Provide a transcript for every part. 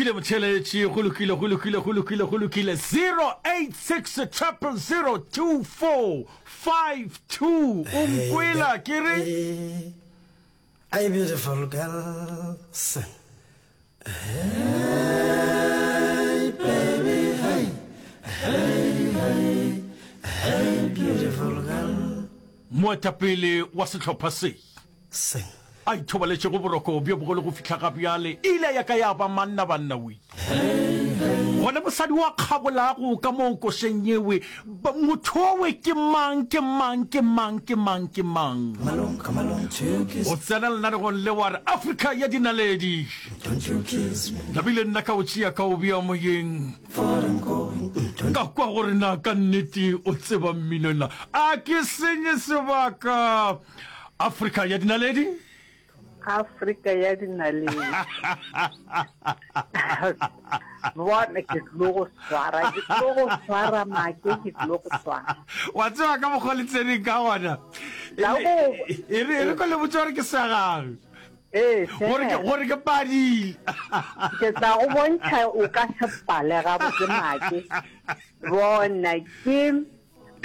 lokile motheeletši, go lokile, go lokile, go lokile, go lokile. 086 000 2452. O nkwela ke re? Hey, beautiful girl, sing. Hey, baby, hey, hey, hey, hey, beautiful girl. Moetapele wa sehlopha se. Sing. A ithobaletšego boroko bjo bogolo go fihla ga bjale, e ile ya ka ya ba manna banna we. Gona mosadi wa kgabolago ka moo košeng yewe, motho owe ke mang, ke mang, ke mang, ke mang, ke mang? O tsena lenanegong le wa re Afrika ya dinaledi. Nabile nna ka o tšea ka o bea moyeng. Ka kwa gore na ka nnete o tseba mmino na. A ke senye sebaka. Afrika ya dinaledi. Afrika ya dinaledi. Bona ke tlo go swara, ke tlo go swara make, ke tlo go swara. Wa tseba ka mokgwa le tseneng ka gona. E re e re ko le botse gore ke sa gagwe. Ee, Gore ke gore ke padile. Ke tla go bontšha o ka se pale gabotse make. Bona ke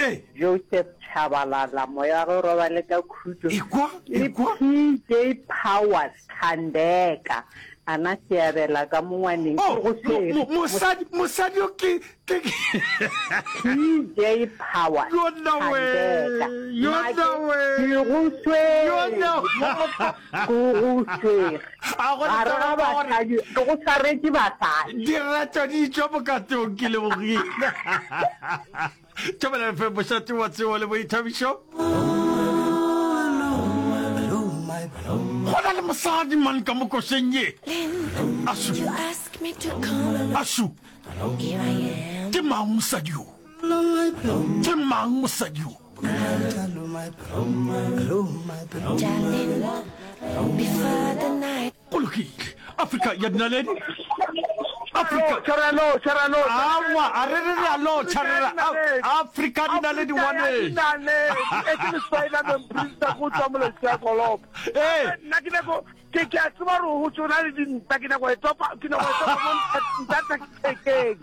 Ee. Joseph Tshabalala, moya wa gagwe o robale ka khutšo, Ekwa, le ekwa. PJ Powers Thandeka, a na seabela ka mo ngwaneng, Oh, ke go mo, swere. mo, mosadi, mosadi yo ke, ke, ke. PJ Powers Yona we, Thandeka, yona Make, we, ke go swere, yona. motho, ke go swere. A go Gare taba ga ka gore basadi, ke go swaretše basadi. direto di tšwa bokatong, ke lebogile. Thobela FM, mošate wa tsebo le boithabišo. Go na le mosadi man ka mo košeng ye. Asu. Asu. Ke mang mosadi yo? Ke mang mosadi yo? Go lokile. Afrika ya dinaledi. Afrika. Tšharalo, tšharalo. Awa, a re re re a lotšha re re Afrika dinaledi ngwanešu. Dinaledi. E ke le Spider-Man Prince go tswa moletši ya Kolopo. Ee. Nna ke nyako ke ke a tseba gore go tsona le dinta ke nyako e topa ke nyako e topa mo nta thekeng.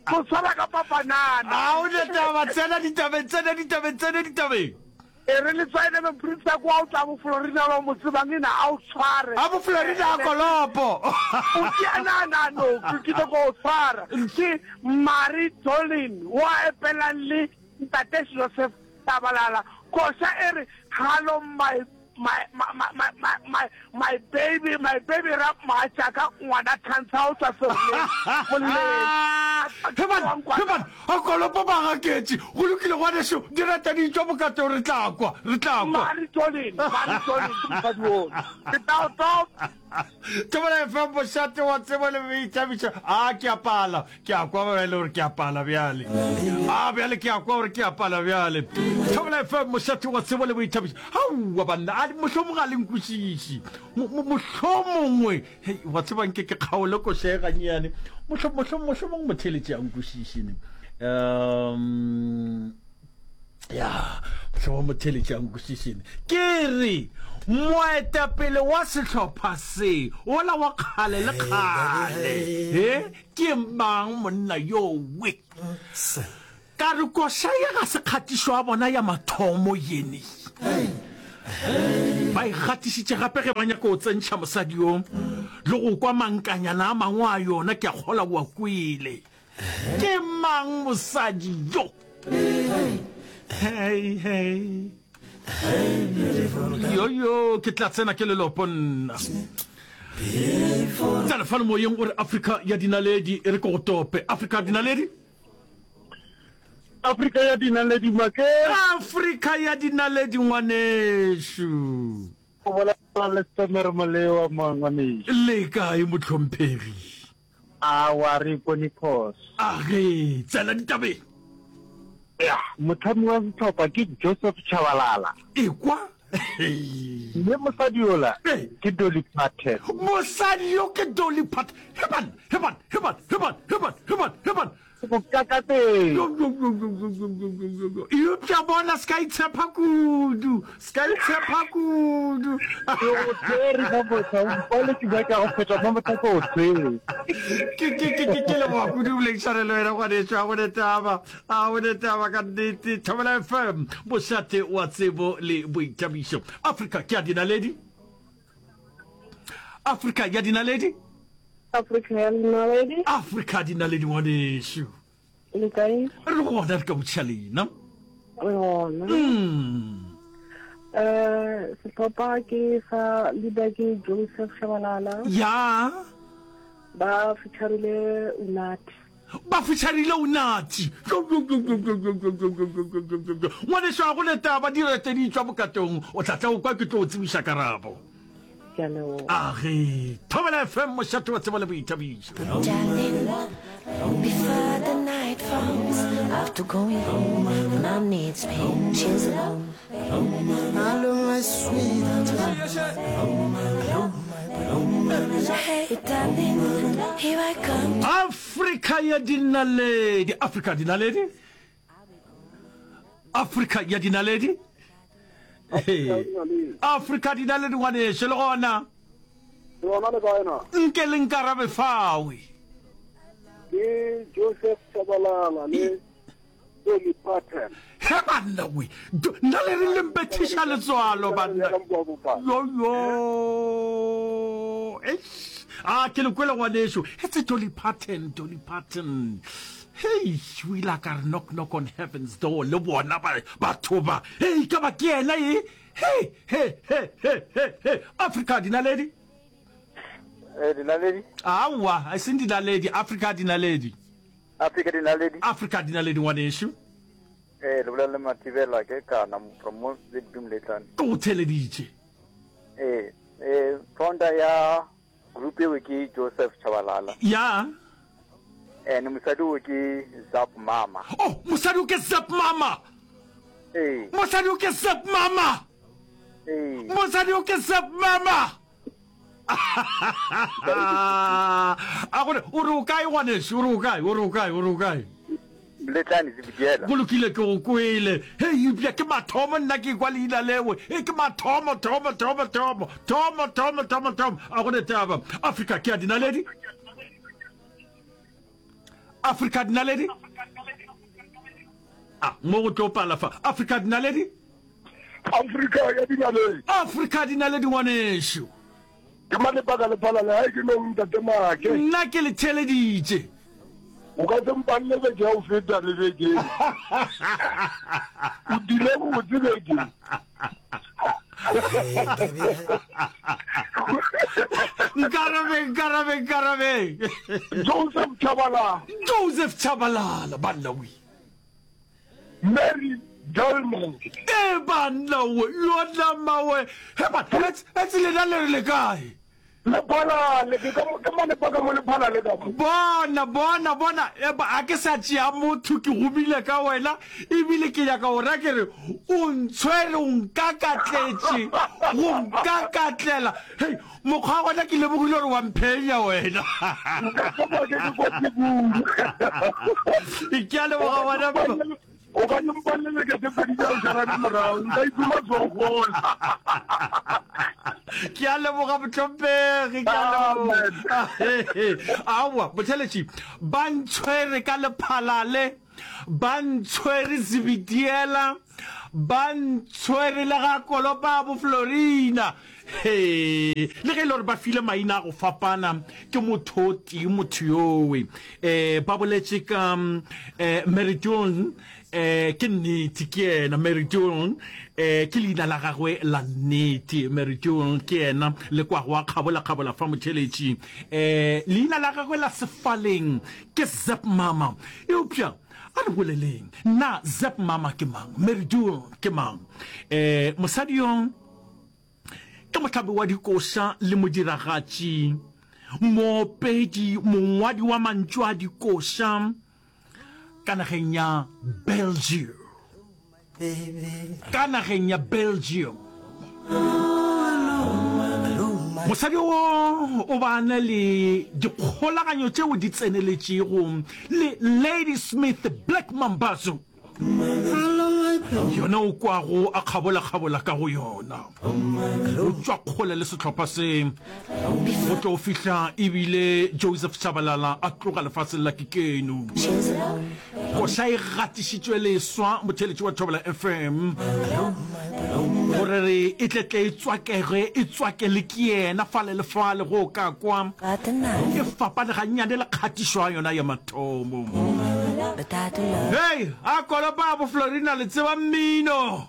Go tshwara ka papanana. A o ne taba tsena ditabeng tsena ditabeng tsena ditabeng. E re letswai le moprista kwa o tla bo Florina ba mo tsebang ena a o tshware. A bo Florina a kolopo. O ke na na no ke ke go o tshwara. Ke Marie Dolin wa epelang le Ntate Joseph Tabalala. Koša e re hello my my my my my my my baby my baby ra mogatšaka ngwana Thantsha o tswa Seroleng Moleng. Heban heban a kolopo ba gaketše go lokile ngwaneso dirata di tšwa bokatong re tla kwa re tla kwa. Mari Jolin Mari Jolin ke mosadi ono ke tla o topa. Thobela FM mošate wa tsebo le boithabišo a ke a pala ke a kwa bjale gore ke a pala bjale a bjale ke a kwa gore ke a pala bjale Thobela FM mošate wa tsebo le boithabišo aowa banna a mohlomongwe ga le nkwešiše mohlomongwe hei wa tseba nke ke kgaole koša e gannyane mohlomongwe motheeletši a nkwešiše ne um ya mohlomongwe motheeletši a nkwešiše ne ke re moetapele wa sehlopha se ola wa kgale le kgale he ke mang monna yowe Ka re koša ye ga se kgatišo ya bona ya mathomo yene. Ba e gatišitše gape ge ba nyaka go tsentšha mosadi yo le go kwa mankanyana a mangwe a yona, ke a kgola o a kwele. Ke mang mosadi yo? Hey, hey. Yo, yo, ke tla tsena ke lelopo nna. Tsena fano moyeng o re Afrika ya dinaledi, e re ke go tope. Afrika dinaledi? Afrika ya dinaledi make. Afrika ya dinaledi ngwanešu. O bolela le Stemere Molewa mo ngwanešu. Le kae mohlomphegi? Awa re ipone phoso. A ge, tsena ditabeng. Ya, motlhami wa sehlopha ke Joseph Chabalala. Ekwa. Mme mosadi yola ke Dolly Parton. Mosadi yo ke Dolly Parton. Heban, heban, heban, heban, heban, heban, heban. Go kakateng. Eupša bona se ka itshepa kudu, se ka itshepa kudu. Ke go tshwere ka motha, o mpale ke nyaka go feta mo motha ke o tshwere. Ke ke ke ke ke leboga kudu boledišane le wena ngwanešu, a go ne taba, a go ne taba ka nnete. Thobela FM, mošate wa tsebo le boithabišo. Afrika ke ya dinaledi. Afrika ya dinaledi. Afrika ya dinaledi. Afrika dinaledi ngwanešu. Le kae? Re gona re ka botšiša lena. Re gona. Mm. Eh, sehlopha ke sa leader ke Joseph Shabalala. Ya. Ba featurile Unathi. Ba featurile Unathi. Ngwanešu a go ne taba di rete di tšwa bokatong o tla tla o kwa ke tlo o tsebiša karabo. Ke a leboga. Age, Thobela FM mošate wa tsebo le boithabišo. Darling, before the night falls, after going home, mom needs me, she's alone. Hello, my sweetheart. Hello, my Hey, darling, here I come. Afrika ya dinaledi, Afrika dinaledi. Afrika ya dinaledi. Afrika dinaledi ngwaneso le gona. Le gona le kae na? Nke le nkarabe fawe. Ke Joseph Tshabalala le Dolly Parton. He banna we, nna le re le mpethiša letswalo banna. Yo yo. Eish. A ke le kwele ngwaneso. It's a Dolly Parton, Dolly Parton. Hei, o ile a ka re knock knock on heaven's door le bona ba batho ba. Hei, ka ba ke yena e. He he he he he he. Africa dinaledi. Eh, dinaledi. Aowa, e seng dinaledi, Africa dinaledi. Africa dinaledi. Africa dinaledi ngwanešu. Eh, le bolela le Mathibela ke kana from mo ZB Moletlane. Ke go theleditše. Eh, eh founder ya group eo ke Joseph Chabalala. Ya. And mosadi o ke Zap Mama. Oh, mosadi o ke Zap Mama. Ee. Mosadi o ke Zap Mama. Ee. Mosadi o ke Zap Mama. A gore o re o kae ngwaneso, o re o kae, o re o kae, o re o kae? Letlane Zebediela. Go lokile ke go kwele. Hei, eupša ke mathomo nna ke kwa leina leo. E ke mathomo, thomo, thomo, thomo, thomo, thomo, thomo, thomo. A go ne taba. Afrika ke ya dinaledi. Afrika dinaledi. A mo go tlo pala fa. Afrika dinaledi. Afrika ya dinaledi. Afrika dinaledi ngwanešu. Ke malebaka le phalale gae ke no ntate Make. Nna ke le theeleditše. O ka se mpanne beke ya go feta le beke. O dile botse beke. Nkarabe, nkarabe, nkarabe. Joseph Chabalala. Joseph Chabalala, banna we. Mary Gelman. E banna we, yona mawe. He ba, etse lena le re le kae? Lephalale, ke ka ke mane pa ka mo lephalale ka mo. Bona, bona, bona, e ba, a ke sa tšea motho ke gomile ka wena, ebile ke nyaka go ra ke re o ntshwere o nkakatletše, go nkakatlela. Hei, Mokgwa wa gona ke lemogile gore wa mphenya wena. Nka thoma ke ke kotsi kudu. Ke a leboga ngwana. O ka mpalele beke tse pedi tša go šalane morago, nka iphuma tsogola. Ke a leboga mohlomphegi, ke a leboga. Aowa, motheletši, ba ntshwere ka lephalale, ba ntshwere Zebediela, Ba ntshwere le ga kolopa bo Florina. He, le ge e le gore ba file maina a go fapana, ke motho o tee motho yowe. Eh, ba boletše ka eh, Mary Joan, eh, ke nnete ke yena Mary Joan, eh, ke leina la gagwe la nnete. Mary Joan ke yena le kwago a kgabola-kgabola fa motšheletši. Eh, leina la gagwe la sefaleng ke Zep Mama. Eupša A re boleleng. Na Zep Mama ke mang? Mary Dool ke mang? E, mosadi yo ke mohlabi wa dikoša le modiragatši, moopedi, mongwadi wa mantšu a dikoša ka nageng ya Belgium. Ka nageng ya Belgium. Mosadi wo o ba na le dikgolaganyo tšeo di tseneletšego le Ladysmith Black Mambazo. Yona o kwago a kgabola-kgabola ka go yona. O tšwa kgole le sehlopha se go tlo fihla ebile Joseph Shabalala a tloga lefaseng la Kikeno. Koša e gatišitšwe leswa motheeletši wa Thobela FM gore re e tle tle e tswakege e tswake le ke yena fale le fale go ka kwa e fapane gannyane le kgatišo ya yona ya mathomo. Hei, a kolopa bo Florina le tseba mmino.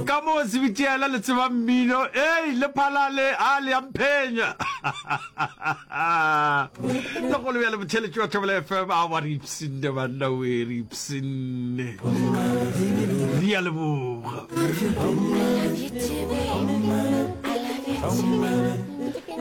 Ka moo Sebitiela le tseba mmino, ei le phalale a le a mphenya. Le golo bjale motheletši wa Thobela FM a wa re ipshinne banna we re ipshinne. Re a leboga. I love you too, babe. I love you too.